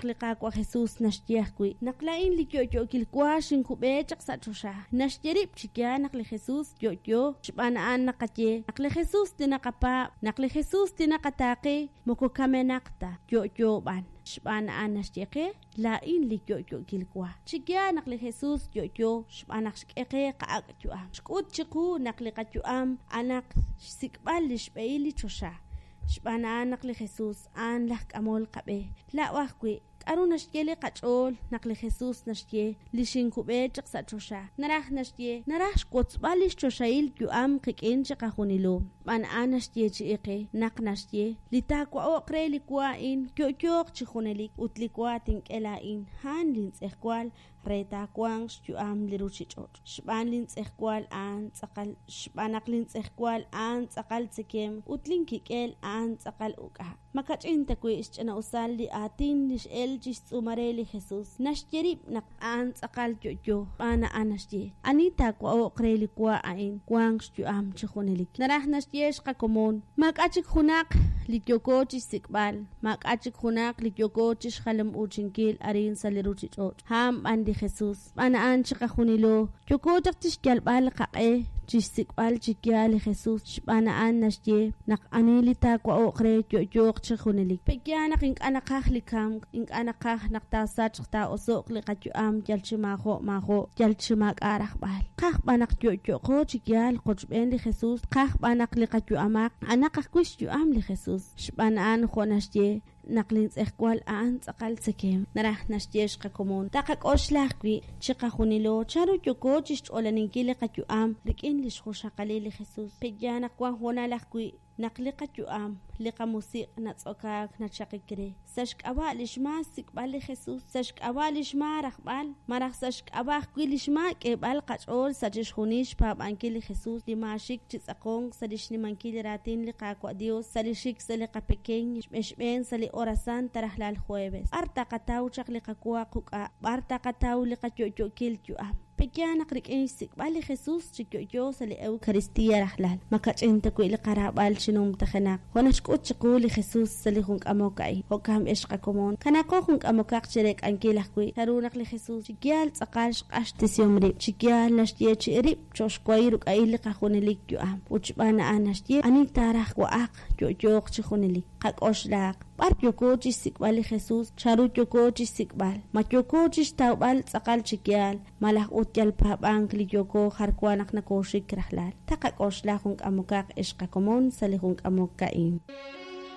li Qaawa' Jesus naxye ajwi', naq laa'in li yo'yookil wa xinkub'e chaq sa' choxa. Naxye rib' chi yaal naq li Jesus yo'yo, xb'aan a'an naqaye naq li Jesus li naqapaab', naq li Jesus li naqataaqe moko kamenaq ta, yo'yo b'an. Xb'aan a'an naxye qe, Laa'in li yo'yookil wa. Chi yaal naq li Jesus yo'yo xb'aan naq xk'e qe qa'ak' yu'am. Xk'ut chiqu naq li qayu'am a'anaq xsik'b'al lix b'ehil li choxa. Xb'aan a'an naq li Jesus a'an laj k'amol qab'e. Laa'o ajwi', k'a'ru naxye li qach'ool naq li Jesus naxye li xinkub'e chaq sa' choxa? Naraj naxye, naraj xwotzb'al lix choxahil yu'am qik'in chiqajunilo. Xb'aan a'an naxyeechi'i qe naq naxye, Li taawa'o'q re li wa a'in yo'yooq chi junelik, ut li wa tink'e laa'in, a'an lintz'ejwal re taawanq xyu'am li ruuchich'och'. Xb'aan lintz'ejwal a'an tz'aqal xb'aan naq lintz'ejwal a'an tz'aqal tzekemq ut linkik'el a'an tz'aqal uk'a'. Ma kach'in ta wi' xch'ina'usal li aatin li x'elk chi xtz'uumal re li Jesus? Naxye rib' naq a'an tz'aqal yo'yo, xb'aan a'an naxye, Ani taawa'o'q re li wa a'in, wanq xyu'am chi junelik. Naraj naxye xqakomon, maak'a' chik junaq li yooko chi xsik'b'al, maak'a' chik junaq li yooko chi xjalam'uuchinkil arin sa' li ruuchich'och', a'an b'an li Jesus. Xb'aan a'an chiqajunilo yooko chaq chi xyalb'al qaq'e chi xsik'b'al chi yaal li Jesus, xb'aan a'an naxye naq ani li taawa'o'q re yo'yooq chi junelik. Pe'yaal naq ink'a' naqaj li kamk, ink'a' naqaj naq taasachq taa'oso'q li qayu'am yal chi maajo' maajo', yal chi maak'a' rajb'al. Tqaj b'an naq yo'yo'qo chi yaal qochb'een li Jesus, tqaj b'an naq li qayu'amaq a'anaq ajwi' xyu'am li Jesus. Xb'aan a'an jo' naxye, naq lintz'ejwal a'an tz'aqal tzekemq. Naraj naxye xqakomon. Taqak'oxla ajwi', chiqajunilo, chanru yooko chixch'olaninkil li qayu'am rik'in lix junxaqalil li Jesus. Pe'yaal naq wan hoonal ajwi' naq li qayu'am, li qamusiq' natz'okaak nachaqik re, sa' xk'ab'a' lix maak xsik'b'al li Jesus, sa' xk'ab'a' lix maak rajb'al, malaj sa' xk'ab'a' ajwi' lix maak k'eeb'al qach'ool sa' chixjunil xpaab'ankil li Jesus, li maaxik chi tz'aqonk sa' li xnimankil li raatin li Qaawa' Dios, sa' li xik sa' li qapekeñ xb'een sa' li hora santa rajlal jueves. B'ar taqataw chaq li qawa quk'a'? B'ar taqataw li qayo'yo'kil yu'am? Pe'yaal naq rik'in xsik'b'al li Jesus chi yo'yo sa' li Eucaristia rajlal, ma kach'in ta wi' li qaraab'al chi numtajenaq, jo' naxk'ut chiqu li Jesus sa' li jun k'amok a'in? Jo'kan b'e xqakomon, kanaaqo jun k'amokaq chireek'ankil ajwi' chanru naq li Jesus chi yaal tz'aqal xq'axtesihom rib', chi yaal naxyeechi'i rib' cho'q xwahil ruk'a'il li qajunelik yu'am, ut xb'aan a'an naxye, Ani taaraj wa'aq, yo'yooq chi junelik. Qak'oxlaaq, b'ar yooko chi xsik'b'al li Jesus? Chanru yooko chi xsik'b'al? Ma yooko chi xtawb'al tz'aqal chi yaal, malaj ut yal paab'ank li yooko jar wa naq nakooxik rajlal? Taqak'oxla jun k'amokaq ex qakomon sa' li jun k'amok a'in.